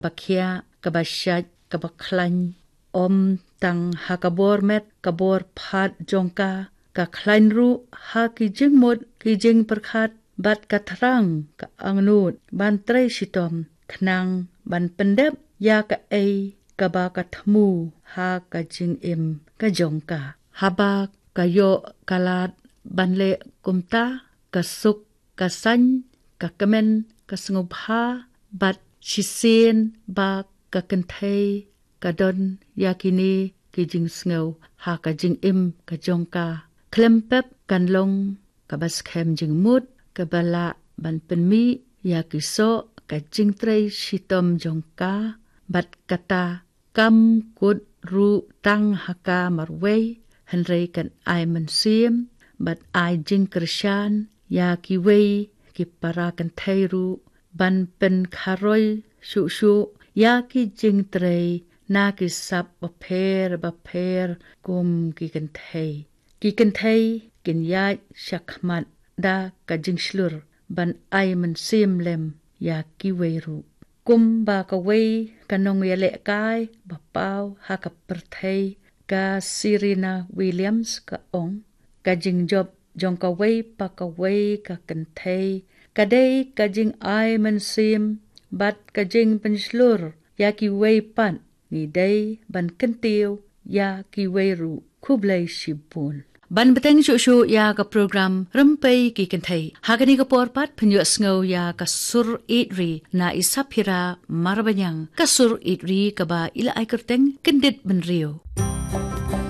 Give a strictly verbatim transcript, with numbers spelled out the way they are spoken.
ba khiah, kaba shait, kaba khlaiñ, ym tang ha ka bor met, ka bor phat jong ka, ka khlaiñ ruh ha ki jingmut, ki jingpyrkhat, bad ka thrang, ka angnud, ban trei shitom, khnang ban pyndep ïa kaei kaba ka thmu ha ka jingim ka jong ka. Haba ka ïoh ka lad ban leh kumta, ka suk, ka saiñ, ka kmen, ka sngewbha, bad shisien ba ka kynthei ka don ïa kine ki jingsngew ha ka jingim ka jong ka. Khlem pep kan long kaba skhem jingmut, kaba lah ban pynmih ïa ki soh ka jingtrei shitom jong ka, bad kata kam kut ruh tang ha ka marwei, hynrei kan ai mynsiem, bad ai jingkyrshan ïa kiwei ki para kynthei ruh, ban pynkharoi shuh shuh ïa ki jingtrei na ki sap bapher bapher kum ki kynthei. Ki kynthei kin ïaid shakhmat da ka jingshlur ban ai mynsiem lem ïa kiwei ruh. Kumba kawei ka nongïalehkai ba paw ha ka pyrthei, ka Serena Williams, ka ong, ka jingjop jong kawei pa kawei ka kynthei ka dei ka jingai mynsiem bad ka jingpynshlur ïa kiwei pat. Ngi dei ban kyntiew ïa kiwei ruh. Khublei shibun. Ban bteng shuh shuh ïa ka program Rympei ki Kynthei, ha kane ka por pat pynïohsngew ïa ka sur ïeit ri na i Saphira Marbaniang, ka sur ïeit ri kaba i la ai kyrteng Kyndit Bynriew.